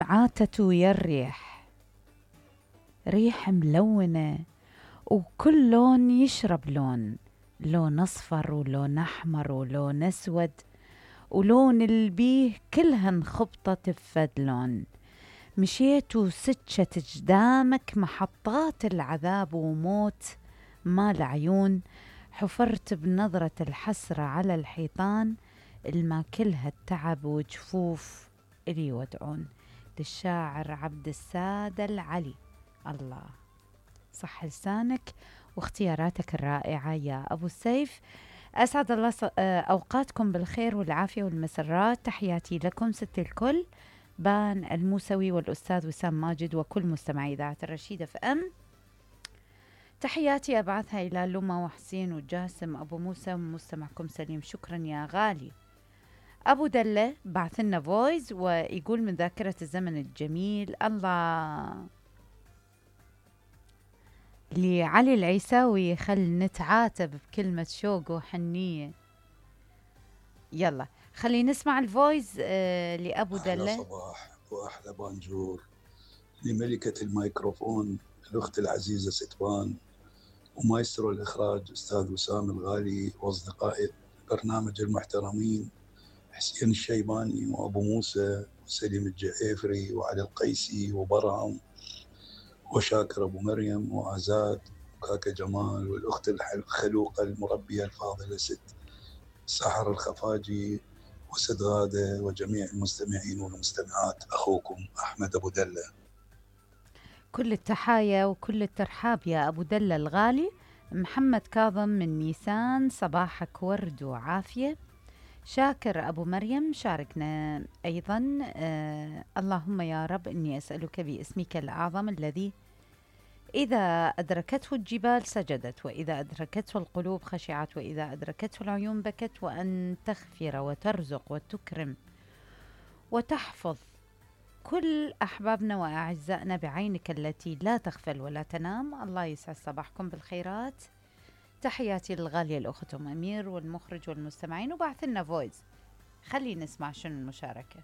عاتت ويا الريح، ريح ملونة وكل لون يشرب لون، لون أصفر ولون أحمر ولون أسود، ولون البيه كلها انخبطت بفد لون. مشيت وسجت جدامك محطات العذاب وموت مال عيون، حفرت بنظرة الحسرة على الحيطان الما كلها التعب وجفوف إلي يودعون. للشاعر عبد السادة العلي. الله صح لسانك واختياراتك الرائعة يا أبو سيف. أسعد الله أوقاتكم بالخير والعافية والمسرات. تحياتي لكم ست الكل، بان الموسوي والأستاذ وسام ماجد وكل مستمعي إذاعة الرشيدة FM. تحياتي أبعثها إلى لما وحسين وجاسم أبو موسى ومستمعكم سليم. شكرا يا غالي. أبو دلة بعث لنا فويس ويقول من ذاكرة الزمن الجميل. الله لعلي العيساوي، خل نتعاتب بكلمة شوق وحنية. يلا خلي نسمع الفويس لأبو دلة. أحلى صباح وأحلى بانجور لملكة الميكروفون الأخت العزيزة ستوان، ومايسترو الإخراج أستاذ وسام الغالي، وأصدقائي البرنامج المحترمين حسين الشيباني وأبو موسى وسليم الجعيفري وعلي القيسي وبرهم وشاكر أبو مريم وآزاد وكاكا جمال، والأخت الخلوقة المربية الفاضلة ست سحر الخفاجي وست غادة، وجميع المستمعين والمستمعات. أخوكم أحمد أبو دلة. كل التحايا وكل الترحاب يا أبو دلة الغالي. محمد كاظم من نيسان، صباحك ورد وعافية. شاكر أبو مريم شاركنا أيضا. اللهم يا رب إني أسألك باسمك الأعظم الذي إذا أدركته الجبال سجدت، وإذا أدركته القلوب خشعت، وإذا أدركته العيون بكت، وأن تغفر وترزق وتكرم وتحفظ كل أحبابنا وأعزائنا بعينك التي لا تغفل ولا تنام. الله يسعد صباحكم بالخيرات. تحياتي للغالية الأخت أم أمير والمخرج والمستمعين. وبعث لنا فويس، خلي نسمع شنو المشاركة.